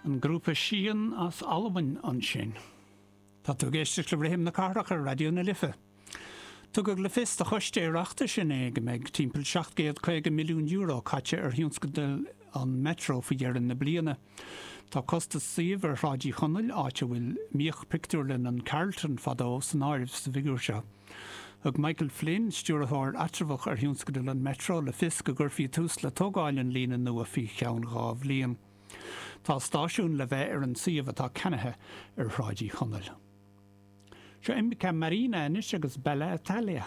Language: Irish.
An grúpa Sian as Albain ansin. Tá tú ag éisteacht le Rithim na Cathrach ar Raidió na Life. Tugadh le fios do Choiste Oireachtais inné go mbeidh timpeall €750 milliún caite ar thionscadal an Metro faoi dheireadh na bliana. Tá costas suímh ar Shráid Uí Chonaill, áit a bhfuil mbíodh pictiúrlann an Carlton fadó, san áireamh sa bhfigiúr seo. Thug Michael Flynn, stiúrthóir eatramhach ar thionscadal an Metro, le fios go gcuirfí tús le tógáil an líne nua faoi cheann 2 bhliain. Tá stáisiún le bheith ar an suíomh atá ceannaithe ar Shráid Uí Chonaill. Seo Imca Marina anois agus Bella Italia.